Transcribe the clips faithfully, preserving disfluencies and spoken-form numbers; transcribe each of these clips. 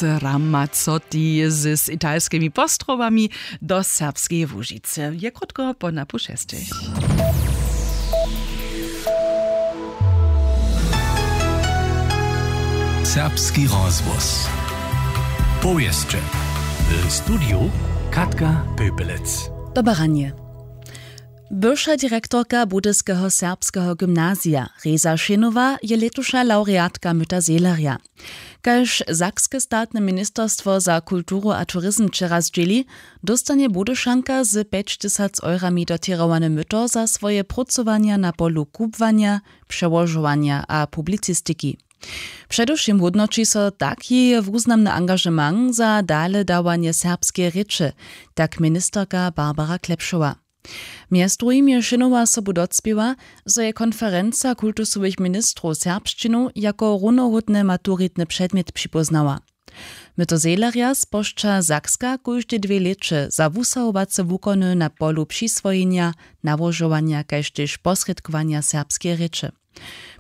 Ramazzotti z italskimi postrowami do Serbskeje Łužicy je krótko po napušestych. Serbski rozhłos. Powěsće. W studiju Katka Pöpelec. Dobaranje. Bywša direktorka Budyskeho serbskeho gymnazija Reza Šenowa je lětuša lawreatka Myta Zehlerja. Kaž sakske statne ministerstwo za kulturu a turizm wčera zdźěli, dóstanje Budyšanka z pjećtysac eurami dotěrowane myto za swoje prócowanja na polu kubłanja, přełožowanja a publicistiki. Předewšěm hódnoći so tak jeje wuznamny angažement za dale dawanje serbskeje rěče, tak ministerka Barbara Klepšowa. Mjez druhim je Šinowa sobu docpěła, zo je konferenca kultusowych ministrow serbšćinu jako runohódny maturitny předmjet připóznała. Myto Zehlerja spožča Sakska kóžde dwě lěće za wusahowace wukony na polu přiswojenja, nałožowanja kaž tež posrědkowanja serbskeje rěče.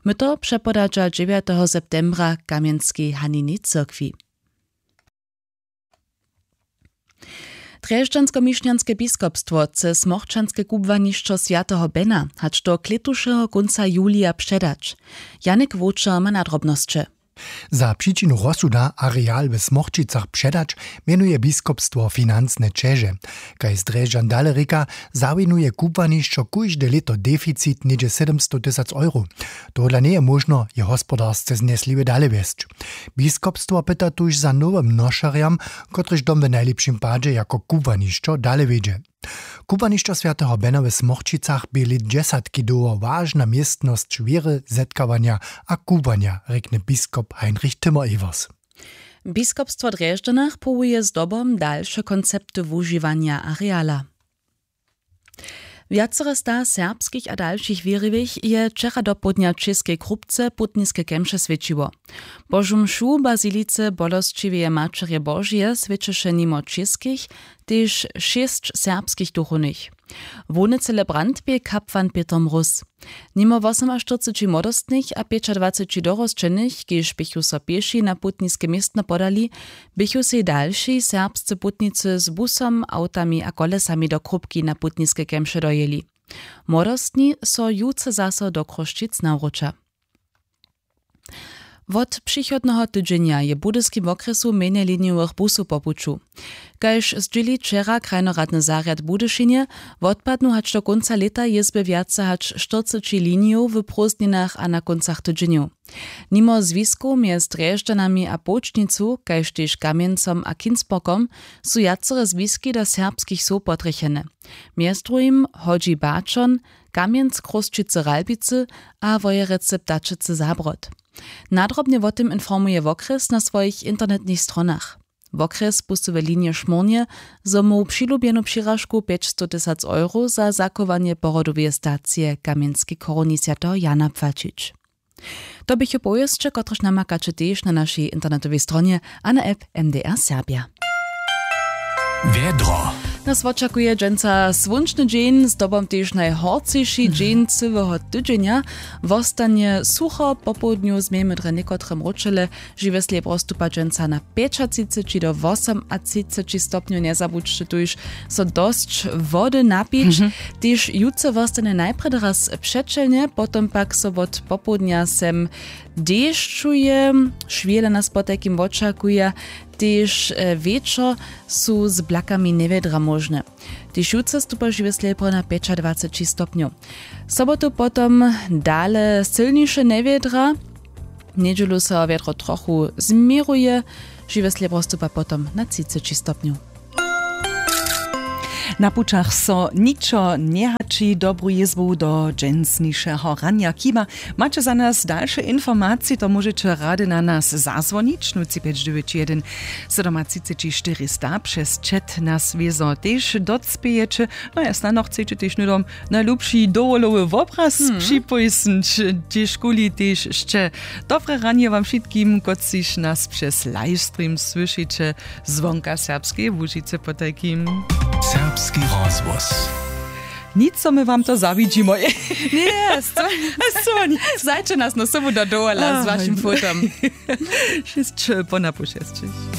Myto přepodadźa dźewjateho septembra w kamjenskej Hanini cyrkwi. Drježdźanskomišnjanske biskopstwo chce smochčanske kubłanišćo swjateho Bena hač do klětušeho kónca julija předać. Janik Wowčer ma nadrobnosće. Za přičinu rozsuda areal we Smochčicach předać mjenuje biskopstwo financne ćeže. Kaž z Drježdźan dale rěka, zawinuje kubłanišćo kóžde lěto deficit něhdźe sydomstow tysac euro. Tohodla njeje móžno je hospodarsce znjesliwje dale wjesć. Biskopstwo pyta tuž za nowym nošerjam, kotryž dom w najlěpšim padźe jako kubłanišćo dale wjedźe. Kubłanišćo swjateho Bena w Smochčicach bě lět dźesatki dołho wažna městnosć wěry, zetkawanja a kubłanja, rjekny biskop Heinrich Timmer-Evers. Biskopstwo w Drježdźanach połuje zdobom dalše koncepty wužiwanja areala. Wjacore sta serbskich a dalšich wěriwych je wčera dopołdnja w Českej Krupce putniske kemše swjećiło. Božu mšu w bazilice Bolosćiweje Maćerje Božeje swjećeše nimo českich tež šěsć serbskich duchownych. Hłowny celebrant bě kapłan Pětr Mróz. Nimo wosomaštyrceći młodostnych a pjećadwaceći dorosćenych, kiž běchu so pěši na putniske městno podali, běchu sej dalši serbscy putnicy z busom, awtami a kolesami do Krupki na putniske kemše dojěli. Młodostni so jutře zaso do Chrósćic nawróća. Wot přichodneho tydźenja je w budyskim wokrjesu mjenje linijowych busow po puću. Kaž zdźěli wčera krajnoradny zarjad w Budyšinje, wotpadnu hač do kónca lěta jězby wjace hač štyrceći linijow w prózdninach a na kóncach tydźenjow. Nimo zwiskow mjez Drježdźanami a Połčnicu, kaž tež Kamjencom a Kinsborgom, su wjacore zwiski do serbskich wsow potrjechene. Mjez druhim Hodźi Baćon, Kamjenc, Chrósćicy, Ralbicy a Wojerecy, Ptačicy, Zabrod. Nadrobnje wo tym informuje wokrjes na swojich internetnych stronach. Wokrjes pusył w linije šmórnje, zo móhł přilubjenu přiražku pjećstow tysac euro za zachowanje pohrodoweje stacije w kamjenskej chorowni swjateho Jana płaćić. To běchu powěsće, kotrež namakaće tež na našej internetowej stronje a na app M D R Serbja. Wjedro. Nas wočakuje dźensa słónčny dźeń, zdobom tež najhorcyši dźeń cyłeho tydźenja. Wostanje sucho, popołdnju změjemy drje někotre mróčele. Žiwjesle je prostupa dźensa na pjećatřiceći do wosomatřiceći stopnjow. Njezabudźće tuž, so dosć wody napić. Tež jutře wostanje najprjedy raz přećelnje, potom pak so wot popołdnja sem dešćuje. Šwjele nas potajkim wočakuja. Tež wječor su z blakami njewjedra móžne. Tež jutře stupa žiwjesle po na pjećadwaceći stopnjow. Sobotu potom dale sylniše njewjedra. Njedźelu so wjedro trochu změruje. Žiwjesle prostupa potom na třiceći stopnjow. Na pućach so ničo njehaći. Dobru jězbu do dźensnišeho ranja. Kiba maće za nas dalše informacije, to móžeće rady na nas zazwonić, nul tři pjeć dźewjeć jedyn sydomatřiceći štyristo, přez chat nas wězo tež docpějeće. No ja snano chceće tež hnydom najlubši dowolowy wobraz připójsnyć, tež kuli tež sće. Dobre ranje wam wšitkim, kotřiž nas přez livestream słyšiće zwonka Serbskeje Łužicy potajkim. Serbski rozhłos. Nic, zo my wam to zawidźimy. Ně, zajće nas na sobu do dowola z wašim fotom. Šěsć po napoł šesćich.